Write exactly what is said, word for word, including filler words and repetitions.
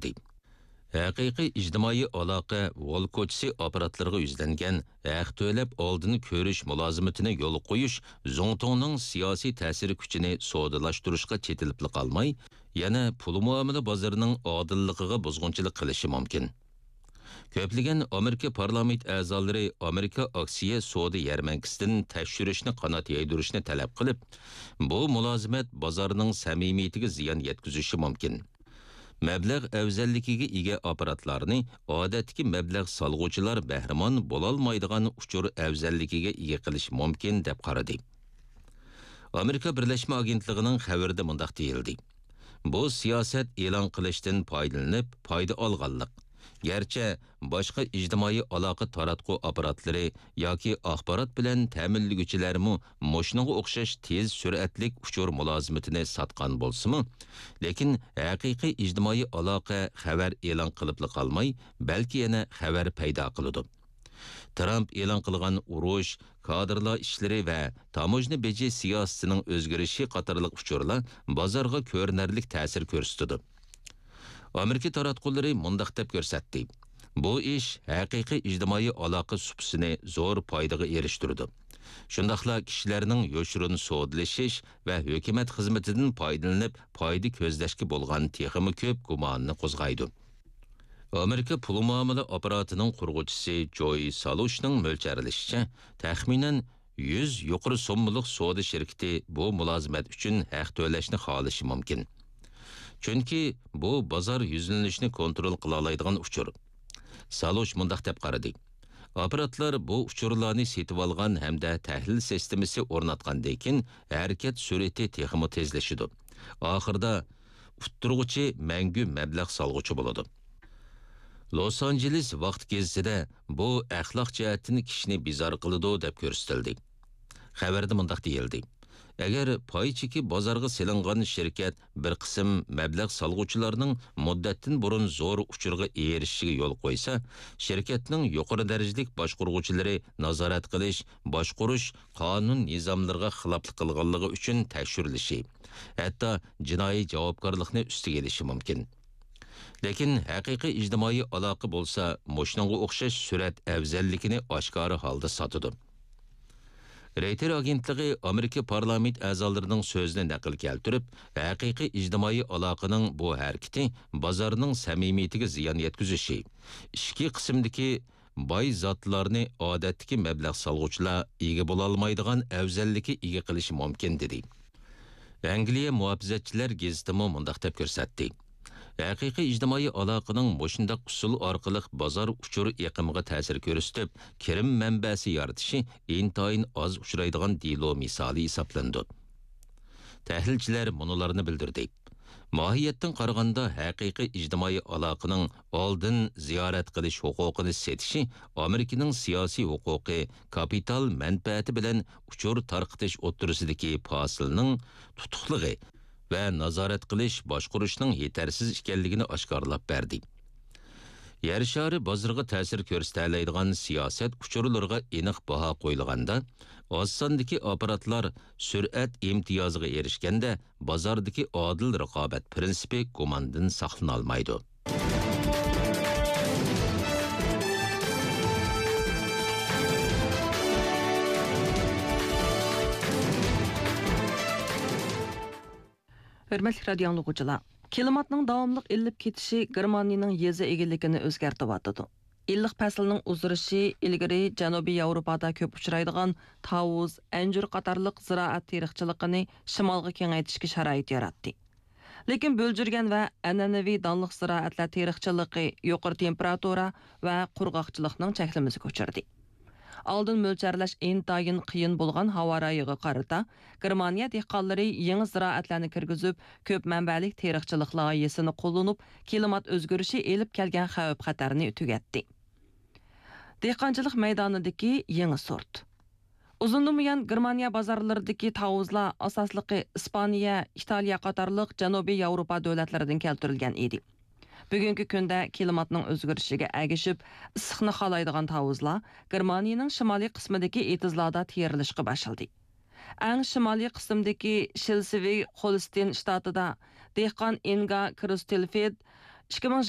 كۆرسەتتى. ھەقىقىي ئىجتىمائىي ئالاقە ۋول كوچىسى ئاپپاراتلىرىغا يۈزلەنگەن ھەق تۆلەپ ئالدىن كۆرۈش مۇلازىمىتىنى يولغا قويۇش زۇڭتۇڭنىڭ سىياسىي تەسىر كۈچىنى سودىلاشتۇرۇشقا چېتىلىپلا قالماي، يەنە پۇل مۇئامىلە بازىرىنىڭ ئادىللىقىغا بۇزغۇنچىلىق قىلىشى مۇمكىن. كۆپلىگەن ئامېرىكا پارلامېنت ئەزالىرى ئامېرىكا ئاكسىيە سودا يەرمەنكىسىدىن تەكشۈرۈشنى قانات يايدۇرۇشنى تەلەپ قىلىپ، بۇ مۇلازىمەت بازارنىڭ سەمىمىيىتىگە زىيان يەتكۈزۈشى مۇمكىن. مەبلەغ ئەۋزەللىكىگە ئىگە ئاپپاراتلارنى ئادەتتىكى مەبلەغ سالغۇچىلار بەھرىمەن بولالمايدىغان ئۇچۇر ئەۋزەللىكىگە ئىگە قىلىش مۇمكىن، دەپ قارىدى. ئامېرىكا بىرلەشمە ئاگېنتلىقىنىڭ خەۋىرىدە مۇنداق دېيىلدى: بۇ سىياسەت ئېلان قىلىشتىن پايدىلىنىپ پايدا ئالغانلىق. گەرچە باشقا ئىجتىمائىي ئالاقە تاراتقۇ ئاپپاراتلىرى ياكى ئاخبارات بىلەن تەمىنلىگۈچىلەرمۇ مۇشۇنىڭغا ئوخشاش تېز سۈرئەتلىك ئۇچۇر مۇلازىمىتىنى ساتقان بولسىمۇ، لېكىن ھەقىقىي ئىجتىمائىي ئالاقە خەۋەر ئېلان قىلىپلا قالماي، بەلكى يەنە خەۋەر پەيدا قىلىدۇ. ترامپ ئېلان قىلغان ئۇرۇش، كادىرلار ئىشلىرى ۋە تاموژنا بېجى سىياسىتىنىڭ ئۆزگىرىشى قاتارلىق ئۇچۇرلار بازارغا كۆرۈنەرلىك تەسىر كۆرسىتىدۇ. ئامېرىكا تاراتقۇلىرى مۇنداق دەپ كۆرسەتتى: بۇ ئىش ھەقىقىي ئىجتىمائىي ئالاقە سۇپىسىنى زور پايدىغا ئېرىشتۈرىدۇ. شۇنداقلا كىشىلەرنىڭ يوشۇرۇن سودىلىشىش ۋە ھۆكۈمەت خىزمىتىدىن پايدىلىنىپ پايدا كۆزلەشكە بولغان تېخىمۇ كۆپ گۇماننى قوزغايدۇ. ئامېرىكا پۇل مۇئامىلە ئاپپاراتىنىڭ قۇرغۇچىسى جوي سالۇشنىڭ مۆلچەرلىشىچە، تەخمىنەن يۈز يۇقىرى سوممىلىق سودا شىركىتى بۇ مۇلازىمەت ئۈچۈن ھەق تۆلەشنى خالىشى مۇمكىن. چۈنكى بۇ بازار يۈزلىنىشىنى كونترول قىلالايدىغان ئۇچۇر. سالۇش مۇنداق دەپ قارىدى: ئاپپاراتلار بۇ ئۇچۇرلارنى سېتىۋالغان ھەمدە تەھلىل سىستېمىسى ئورناتقاندىن كېيىن، ھەرىكەت سۈرئىتى تېخىمۇ تېزلىشىدۇ. ئاخىرىدا ئۇتتۇرغۇچى مەڭگۈ مەبلەغ سالغۇچى بولىدۇ. لوس ئانژېلېس ۋاقتى گېزىتىدە بۇ ئەخلاق جەھەتتىن كىشىنى بىزار قىلىدۇ، دەپ كۆرسىتىلدى. خەۋەردە مۇنداق دېيىلدى: ئەگەر پاي چېكى بازارغا سېلىنغان شىركەت بىر قىسىم مەبلەغ سالغۇچىلارنىڭ مۇددەتتىن بۇرۇن زور ئۇچۇرغا ئېرىشىشىگە يول قويسا، شىركەتنىڭ يۇقىرى دەرىجىلىك باشقۇرغۇچىلىرى نازارەت قىلىش، باشقۇرۇش قانۇن نىزاملىرىغا خىلاپلىق قىلغانلىقى ئۈچۈن تەكشۈرۈلۈشى، ھەتتا جىنايى جاۋابكارلىقنى ئۈستىگە ئېلىشى مۇمكىن. لېكىن ھەقىقىي ئىجتىمائىي ئالاقە بولسا مۇشۇنىڭغا ئوخشاش سۈرئەت ئەۋزەللىكىنى ئاشكارا ھالدا ساتىدۇ. رېيتېر ئاگېنتلىقى ئامېرىكا پارلامېنت ئەزالىرىنىڭ سۆزىنى نەقىل كەلتۈرۈپ، ھەقىقىي ئىجتىمائىي ئالاقىنىڭ بۇ ھەرىكىتى بازارنىڭ سەمىمىيىتىگە زىيان يەتكۈزۈشى، ئىچكى قىسىمدىكى باي زاتلارنى ئادەتتىكى مەبلەغ سالغۇچىلار ئىگە بولالمايدىغان ئەۋزەللىككە ئىگە قىلىشى مۇمكىن، دېدى. ئەنگلىيە مۇھاپىزەتچىلەر گېزىتىمۇ مۇنداق دەپ كۆرسەتتى: ھەقىقىي ئىجتىمائىي ئالاقىنىڭ مۇشۇنداق ئۇسۇل ئارقىلىق بازار ئۇچۇر ئېقىمىغا تەسىر كۆرسىتىپ، كىرىم مەنبەسى يارىتىشى ئىنتايىن ئاز ئۇچرايدىغان دېلو مىسالى ھېسابلىنىدۇ. تەھلىلچىلەر مۇنۇلارنى بىلدۈردى: ماھىيەتتىن قارىغاندا، ھەقىقىي ئىجتىمائىي ئالاقىنىڭ ئالدىن زىيارەت قىلىش ھوقۇقىنى سېتىشى ئامېرىكىنىڭ سىياسىي ھوقۇقى، كاپىتال مەنپەئەتى بىلەن ئۇچۇر تارقىتىش ئوتتۇرىسىدىكى پاسىلنىڭ تۇتۇقلۇقى ۋە نازارەت قىلىش، باشقۇرۇشنىڭ يېتەرسىز ئىكەنلىكىنى ئاشكارىلاپ بەردى. يەر شارى بازىرىغا تەسىر كۆرسىتەلەيدىغان سىياسەت ئۇچۇرلىرىغا ئېنىق باھا قويۇلغاندا، ئاز ساندىكى ئاپپاراتلار سۈرئەت ئىمتىيازىغا ئېرىشكەندە، بازاردىكى ئادىل رىقابەت پىرىنسىپى گۇماندىن ساقلىنالمايدۇ. ھۆرمەتلىك رادىيو ئاڭلىغۇچىلار، كىلىماتنىڭ داۋاملىق ئىللىپ كېتىشى گېرمانىيەنىڭ يېزا ئىگىلىكىنى ئۆزگەرتىۋاتىدۇ. ئىللىق پەسىلنىڭ ئۇزىرىشى ئىلگىرى جەنۇبىي ياۋروپادا كۆپ ئۇچرايدىغان تاۋۇز، ئەنجۈر قاتارلىق زىرائەت تېرىقچىلىقىنى شىمالغا كېڭەيتىشكە شارائىت ياراتتى. لېكىن بۆلجۈرگەن ۋە ئەنئەنىۋى دانلىق زىرائەتلەر تېرىقچىلىقى يۇقىرى تېمپېراتۇرا ۋە قۇرغاقچىلىقنىڭ چەكلىمىسىگە ئۇچرىدى. ئالدىن مۆلچەرلەش ئىنتايىن قىيىن بولغان ھاۋا رايىغا قارىتا، گېرمانىيە دېھقانلىرى يېڭى زىرائەتلەرنى كىرگۈزۈپ، كۆپ مەنبەلىك تېرىقچىلىق لايىھىسىنى قوللىنىپ، كىلىمات ئۆزگىرىشى ئېلىپ كەلگەن خەۋپ-خەتەرنى تۈگەتتى. دېھقانچىلىق مەيدانىدىكى يېڭى سورت. ئۇزۇندىن بۇيان گېرمانىيە بازارلىرىدىكى تاۋۇزلار ئاساسلىقى ئىسپانىيە، ئىتالىيە قاتارلىق جەنۇبىي ياۋروپا دۆلەتلىرىدىن كەلتۈرۈلگەن ئىدى. بۈگۈنكى كۈندە كىلىماتنىڭ ئۆزگىرىشىگە ئەگىشىپ، ئىسسىقنى خالايدىغان تاۋۇزلار گېرمانىيەنىڭ شىمالىي قىسمىدىكى ئېتىزلاردا تېرىلىشقا باشلىدى. ئەڭ شىمالىي قىسىمدىكى شلېسۋىگ-خولستېن شتاتىدا دېھقان ئىنگا كروستېلفېد ئىككى مىڭ